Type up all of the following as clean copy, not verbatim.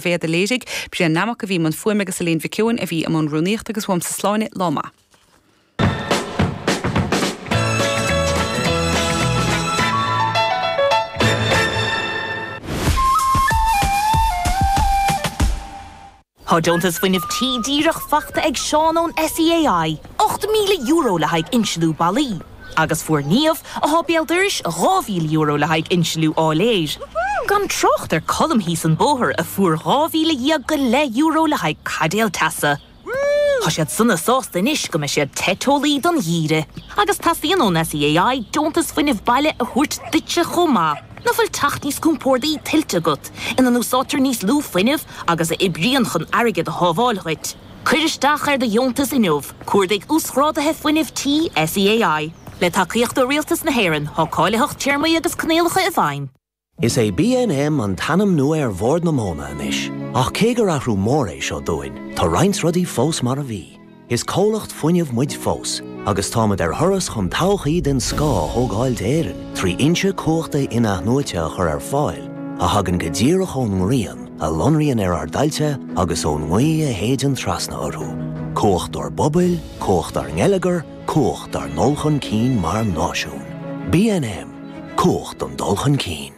Bhéad a léirigh, Brian Nammock a bhí i mbun fuaime agus Elaine Mhic Eoin a bhí i mbun rúnaíochta agus uaimse Sláine, lá maith. Tá deontas fuinnimh tí díreach faighte ag Seán ón SEAI, €8,000 le haghaidh insliú ballaí. Agus fuair Niamh, atá béal dorais, €2,000 le haghaidh insliú áiléir. Gan trácht ar Colm thíos an bóthar a fuair €12,000 go leith le haghaidh caidéal teasa. Tá siad sona sásta anois go mbeidh siad te teolaí don gheimhreadh. Agus teastaíonn ón SEAI deontas fuinnimh baile a thabhairt duitse chomh maith. Nach bhfuil teach níos compórdaí tuillte agat, ina n-úsáidtear níos lú fuinnimh agus a oibríonn chun airgead a shábháil dhuit? Cuir isteach ar do dheontas inniu, cuardaigh Uasghráduithe Fuinnimh Tí SEAI. Le tacaíocht ó Rialtas na hÉireann, tá cáilitheacht, téarmaí agus coinníollacha i bhfeidhm. Is é BNM an t-ainm nua ar Bhord na Móna anois, ach cé gur athrú mór é seo dúinn, tá roinnt rudaí fós mar a bhí. Is comhlacht fuinnimh muid fós, agus táimid ar thuras chun todhchaí den scoth a thógáil d'Éirinn trí fhoinse cumhachta in-athnuaite a chur ar fáil a thagann go díreach ón ngrian a lonraíonn ar ár dtailte agus ón ngaoth a shéideann trasna orthu. Cumhacht dár bpobail, cumhacht dár ngeilleagar, cumhacht dár ndul chun cinn mar náisiún. BNM, Cumhacht don dul chun cinn.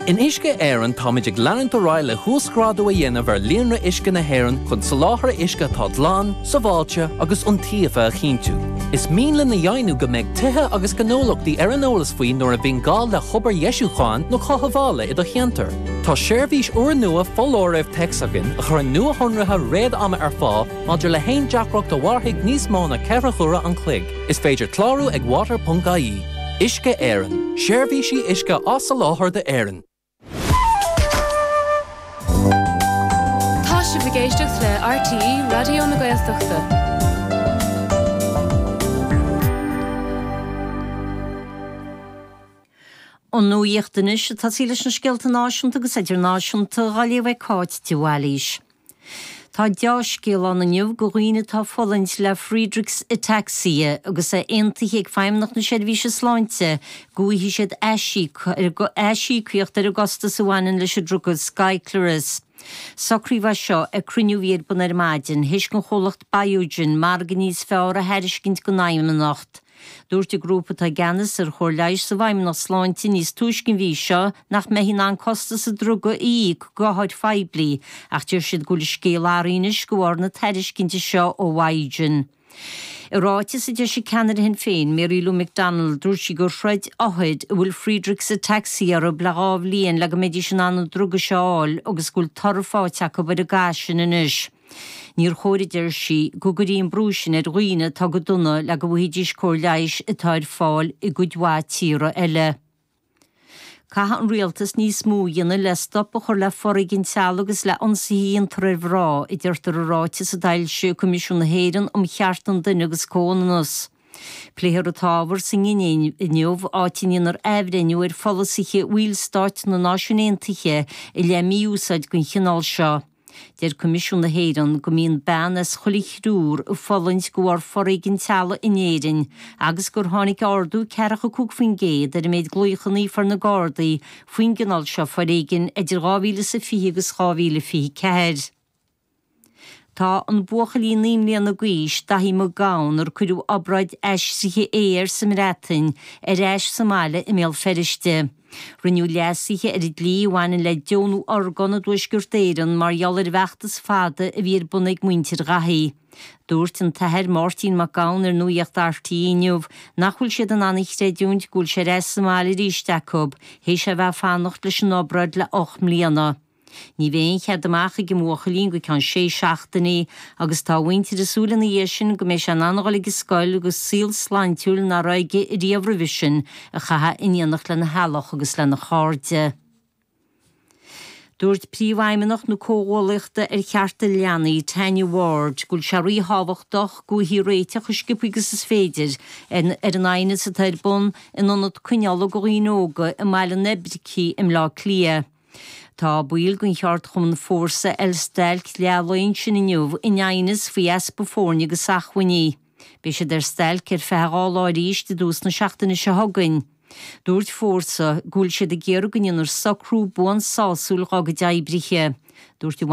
In Uisce Éireann táimid ag leanúint ar aghaidh le huasghrádú a dhéanamh ar líonra uisce na hÉireann chun soláthar uisce atá glan, sábháilte agus iontaofa a chinntiú. Is mian linn a dheimhniú go mbeidh tithe agus gnólachtaí ar an eolas faoi nuair a bhíonn gá le hobair dheisiúcháin nó chothabhála i do cheantar. Tá seirbhís úrnua foláirimh téacs againn a chuireann nuashonruithe réad-ama ar fáil maidir le haon deacracht a mhairfidh níos mó ná 4 huaire an chloig. Is féidir clárú ag water.ie. Uisce Éireann, seirbhísí uisce á soláthar d'Éirinn. Tá sibh ag éisteacht le RTÉ Raidió na Gaeltachta. An nuacht anois ag tosaí leis na scéalta náisiúnta agus idirnáisiúnta á léamh ag Cáit de Bhailís. Tá deá-scéal ann inniu do dhaoine atá ag fulaingt le Friedreich's Ataxia agus é aontaithe ag Feidhmeannacht na Seirbhíse Sláinte go bhfaighidh siad aisíocaíocht ar an gcostas a bhaineann leis an druga Skyclarys. Socraíodh é seo ag cruinniú a bhí ar bun ar maidin, théis don chomhlacht Biogen margadh níos fearr a thairiscint don Fheidhmeannacht. Dúirt an grúpa atá i gceannas ar chóir leighis sa bhFeidhmeannacht Sláinte níos túisce an mhí seo nach mbeifí in ann costas an druga a íoc d'othair phoiblí ach deir siad go bhfuil an scéal athraithe anois de bharr na tairiscinte seo ó Bhiogen. I ráiteas a d'eisigh ceannaire Shinn Féin, Mary Lou McDonald, dúirt sí gur throid othair a bhfuil Friedreich's Ataxia orthu le dhá bhliain le go mbeidís in ann an druga seo a fháil agus go bhfuil toradh faighte acu ar an gcath sin anois. Níor chóir, a deir sí, go gcuirfí an brú sin ar dhaoine atá go dona le go bhfaighidís cóir leighis atá ar fáil i gcuid mhaith tíortha eile. Caithfidh an rialtas níos mó a dhéanamh le stop a chur le foréigean teaghlaigh agus le ionsaithe a dhéantar ar mhná, a deirtear i ráiteas a d'fhoilsigh Coimisiún na hÉireann um Chearta an Duine agus Comhionannas. Pléifear an t-ábhar sa nGinéiv inniu, áit a ndéanfar athbhreithniú ar pholasaithe bhallstáit na Náisiún Aontaithe i leith mí-úsáid den chineál seo. Deir Coimisiún na hÉireann go mbíonn bean as chuile thriúr ag fulaingt de bharr foréigean teaghlaigh in Éirinn agus gur tháinig ardú 45% ar an méid glaochanna a fuair na Gardaí faoin gcineál seo foréigin idir 2020 agus 2024. Tá an buachaillín 9 mbliana d'aois, Daithí Mac Gabhann, ar cuireadh obráid aistrithe ae air sa mBreatain, ar ais sa mbaile i mBéal Feirste. Rinneadh leasuithe ar an dlí a bhaineann le deonú orgán i dTuaisceart Éireann mar gheall ar an bhfeachtas fada a bhí ar bun ag muintir Dhaithí. Dúirt an t-athair Máirtín Mac Gabhann ar Nuacht RTÉ inniu nach bhfuil siad in ann a chreidiúint go bhfuil sé ar ais sa mbaile arís acu, théis é a bheith ag fanacht leis an obráid le 8 mbliana. Ní bheidh aon chead amach ag an mbuachaillín go ceann sé seachtainí agus tá a mhuintir ag súil ina dhiaidh sin go mbeidh sé in ann a dhul ag an scoil agus saol sláintiúil nach raibh aige riamh roimhe sin a chaitheamh in éineacht lena theaghlach agus lena chairde. Dúirt Príomhfheidhmeannach na Comhghuallaíochta ar Chearta Leanaí, Tanya Ward, go bhfuil sé ríthábhachtach go bhfaighfí réiteach chomh sciobtha agus is féidir ar an aighneas atá ar bun in ionad coinneála do dhaoine óga i mBaile an Oibricigh i mBleá Cliath. Tá baill den cheardchumann Fórsa ar stailc leath lae ansin inniu in aighneas faoi easpa foirne agus acmhainní. Beidh siad ar stailc ar feadh 2 lá arís i dtús na seachtaine seo chugainn. Dúirt Fórsa go bhfuil siad ag iarraidh go ndéanfar socrú buan sásúil dhá gcuid oibrithe. Dúirt.